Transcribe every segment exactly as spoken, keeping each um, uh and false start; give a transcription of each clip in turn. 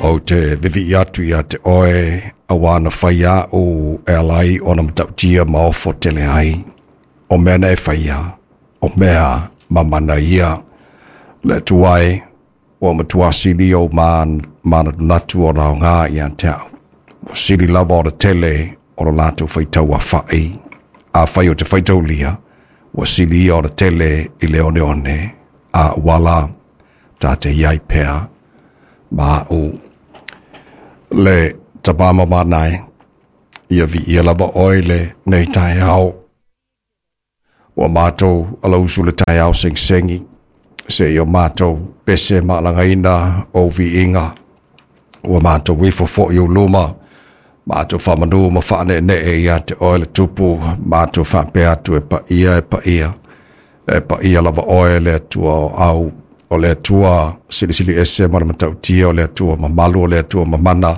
Ou te vivi atu ia te oe a wana whaia o e alai o na matautia ma ofo tele ai. O mea na e whaia, o mea mamana ia. Le tuai, o matua sili o mana natu o rao ngā ia te au. O sili lava o le tele o lo lātou whaitau a whai. A whai o te whaitau lia, o sili o le tele i le one one. A wala tā te iai pea ma o le tabama manai ia vi ia lava oi le nei tai au. Ua mātou ala usu le tai au sing sengi se i o mātou pese maalangaina o viiga. Ua mātou ifo fo'i o luma mātou whamanu ma whaane nee ia te oe le tupu mātou whapea atu e paia e paia e paia lava oe le atua o au o le atua silisili ese ma le matautia o le atua mamalu o le atua mamana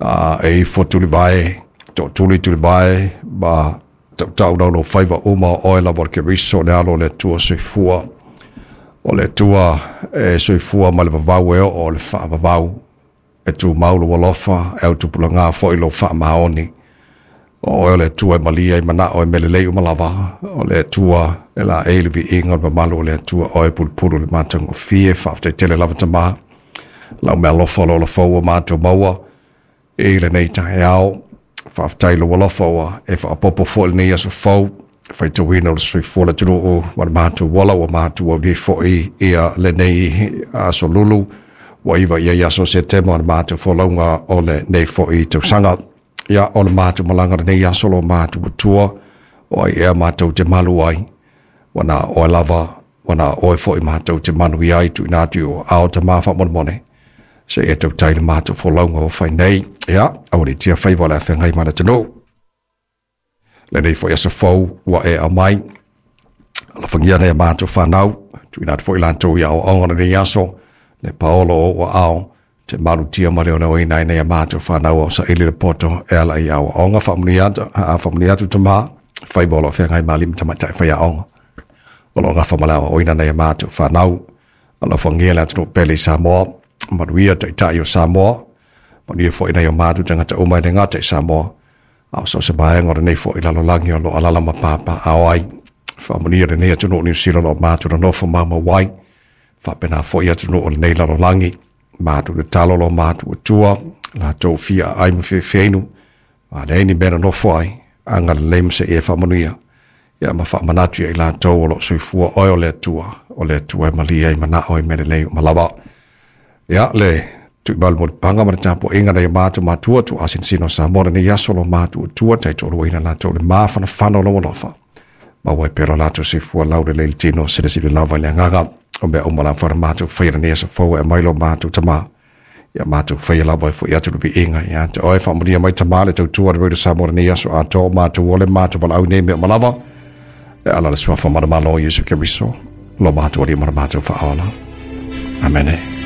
uh, e ifo tulivae to tuli tulivae ma tautau nau no faiva uma o oe lava o le Keriso le alo o le atua soifua o le atua e soifua ma le vavau e oo o le whaavavau e tū maulu alofa e au tupulanga fo'i lo whaamaoni o oe o le atua e malia i manao e melelei umalava o le atua e la e le viiga o le mamalu o le atua oe pulupulu le matagofie faafetai lava tamā lau mea alofa o lo olafou ua matou maua i lenei taeao faafetai lou alofa ua e faapopo fo'i lenei aso fou faitauina o le soifua le atunuu ma le matou ola ua matou aulia fo'i ia lenei aso lulu ua iva ia i aso Setema o le matou folauga o lenei fo'i tausaga. Ia o le matou malaga lenei aso lo matou matua o ai ea matou te malu ai wana oe lava wana oe fo'i matou te manu i ai tuuina atu o ao tamā faamolemole se e tautai le matou folauga o fai nei. Ia aualiitia faiva o le afeagai ma le atunuu lenei fo'i aso fou ua e aumai alofagia nei a matou fanau tuuina atu fo'i latou i aoaoga lenei aso le paolo o ua ao te malutia ma le oleoina ai nei a matou fanau o saili le poto e ala i aoaoga faamanuia atu faamanuia atu tamā faiva o lo feagai ma alii ma tamaitai faiaoga o lo gafa ma le aoaoina nei a matou fanau alofagia le atunuu pele i Samoa manuia taitai o Samoa manuia fo'i nei o matou tagata uma e le gata i Samoa a o so se vaega o lenei fo'i lalolagi o lo alala ma papaao ai faamanuia lenei atunuu Niu Sila o lo o matou nonofo maumau ai faapena fo'i atunuu o lenei lalolagi matou tatalo lo matou atua latou fia ai ma feafeinu a leai ni mea nonofo ai agalelei ma seia faamanuia ia ma faamanatu ia i latou o loo soifua oe o le Atua o le Atua e malia ai manao i mea lelei uma lava. Ia le tuumalu molipaga ma le tapuaiga nai o matou matua tuuasinosino o Samoa lenei aso lo matou atua taitoaluaina latou le mafanafana o lou alofa maua ai pea lo latou soifua laulelei le tino silasila lava i le agaga o mea uma lava na matou faia lenei aso fou e aumai lo matou tamā ia matou faia lava e fo'i atu le viiga ia te oe faamanuia mai tamā le tautua le Radio Samoa lenei aso atoa o matou ole matou valaau nei mea uma lava e ala le suafa manamalo o Iesu Keriso lo matou alii ma le matou faaola. Amene.